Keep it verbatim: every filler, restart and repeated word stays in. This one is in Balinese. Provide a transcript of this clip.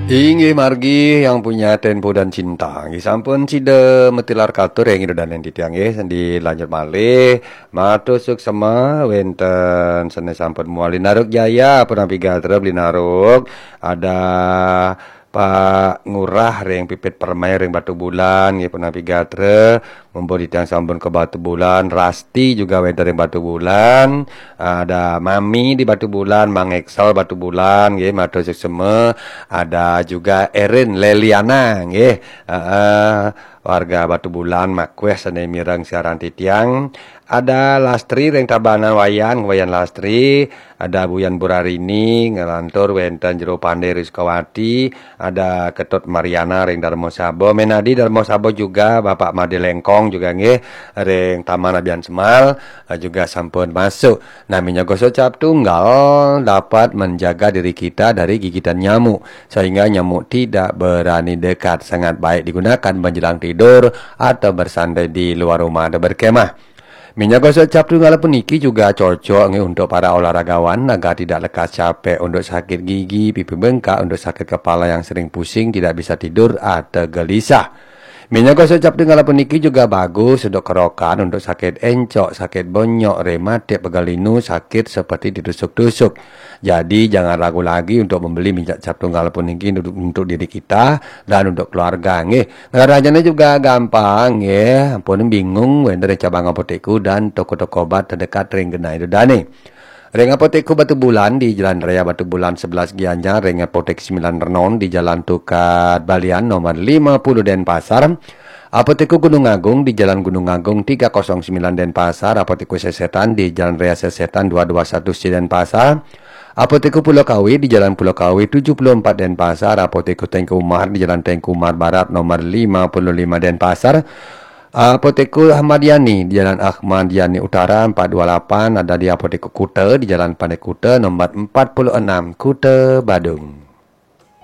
Inggih margi yang punya tempo dan cinta. Inggih sampun sida matilar katur ring Ida Dané titiang nggih, dilanjut malih. Matur suksema wénten sané sampun muali Naruk Jaya, punapi gatra Beli Naruk. Ada Pak Ngurah ring Pipit Permai ring Batubulan nggih, punapi gatra. Mumpung titiang sampun ka Batubulan, Rasti juga wénten ring Batubulan, ada Mami di Batubulan, Mang Excel Batubulan nggih, matur suksema, ada juga Erin Leliana nggih. Heeh, warga Batubulan makweh sané mireng siaran titiang. Ada Lastri ring Tabanan Wayan, Wayan Lastri, ada Buyan Burarini, nglantur wénten Jero Pandé ring Sukawati, ada Ketut Mariana ring Darmasaba, Menadi Darmasaba juga, Bapak Made Lengkong juga nggih, ring Taman Abian Semal, eh, juga sampun masuk. Nah, minyak gosok cap tunggal dapat menjaga diri kita dari gigitan nyamuk, sehingga nyamuk tidak berani dekat. Sangat baik digunakan menjelang tidur atau bersantai di luar rumah atau berkemah. Minyak gosok cap tunggal puniki juga cocok nggih untuk para olahragawan agar tidak lekas capek, untuk sakit gigi, pipi bengkak, untuk sakit kepala yang sering pusing, tidak bisa tidur atau gelisah. Minyak gosok cap tunggal puniki juga bagus untuk kerokan, untuk sakit encok, sakit bonyok, rematik, pegal linu, sakit seperti ditusuk-tusuk. Jadi jangan ragu lagi untuk membeli minyak cap tunggal puniki untuk, untuk diri kita dan untuk keluarga nggih. Ngarajané juga gampang nggih, ampun bingung wénten ring cabang apotekku dan toko-toko obat terdekat ring genah Ida Dané. Ring Apotekku Batubulan di Jalan Raya Batubulan sebelas Gianyar, ring Apotek Sembilan Renon di Jalan Tukad Balian nomor lima puluh Denpasar, Apotekku Gunung Agung di Jalan Gunung Agung tiga kosong sembilan Denpasar, Apotekku Sesetan di Jalan Raya Sesetan dua dua satu C Denpasar, Apotekku Pulau Kawi di Jalan Pulau Kawi tujuh puluh empat Denpasar, Apotekku Tengku Umar di Jalan Tengku Umar Barat nomor lima puluh lima Denpasar, Apotekku Ahmad Yani di Jalan Ahmad Yani Utara empat dua lapan, ada di Apotekku Kuta di Jalan Pandai Kuta nomor empat puluh enam, Kuta Badung.